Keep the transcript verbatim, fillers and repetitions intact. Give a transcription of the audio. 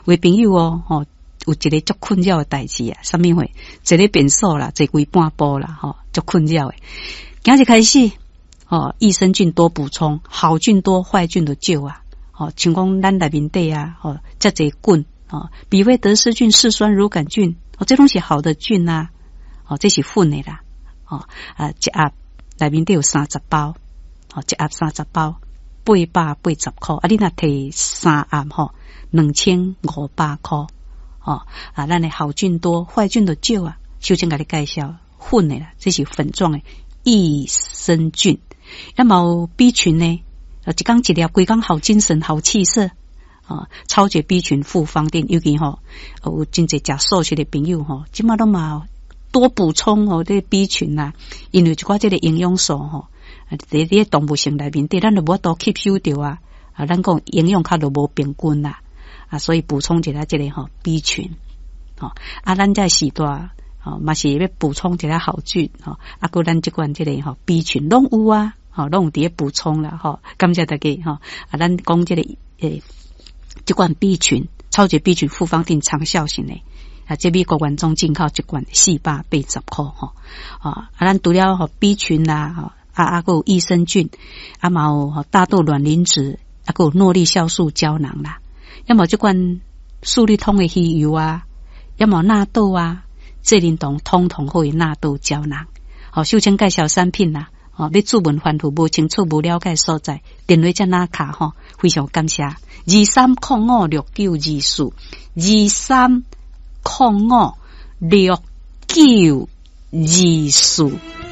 有的朋友哦，吼，有一个足困擾的代誌啊，啥物貨？坐咧便所啦，坐規半晡啦，吼，足困擾的。今日開始，吼，益生菌多補充，好菌多，壞菌就少啊。吼，像講咱內面底啊，吼，遮濟菌，吼，比菲德氏菌、嗜酸乳桿菌，哦，這攏是好的菌啊，哦，這是粉的啦，哦，啊，一盒內面底有三十包，哦，一盒三十包，八百八十箍，啊，你若提三盒吼，兩千五百箍，哦，啊，咱的好菌多，壞菌就少啊。首先共你介紹粉的啦，這是粉狀的益生菌，啊嘛有 B 群呢，一工一粒，規工好精神、好氣色，啊，超級 B 群複方錠，尤其吼有真濟食素食的朋友吼，這馬攏嘛多補充哦，這個 B 群啊，因為一寡這個營養素吼，佇佇動物性內面底，咱就無法度吸收著啊，啊，咱講營養較就無平均啦，啊，所以補充一下這個吼 B 群，吼，啊，咱這時代。吼，嘛是欲補充一下好菌，吼，啊，閣咱這款這個吼 B 群攏有啊，吼，攏有佇咧補充啦，吼，感謝大家，吼，啊，咱講這個欸，這款 B 群，超級 B 群複方錠長效型的，啊，這美國原裝進口一罐四百八十箍，吼，啊，咱除了吼 B 群啦，吼，啊啊，閣有益生菌，啊嘛有吼大豆卵磷脂，啊閣有諾麗酵素膠囊啦，抑嘛這款速利通的魚油啊，抑嘛納豆啊。濟奶糖通通好的納豆膠囊，好，秀清介紹產品啦，哦，欲諮問繁複無清楚無了解所在，電話遮哪敲吼，非常感謝，二三空五六九二四，二三空五六九二四。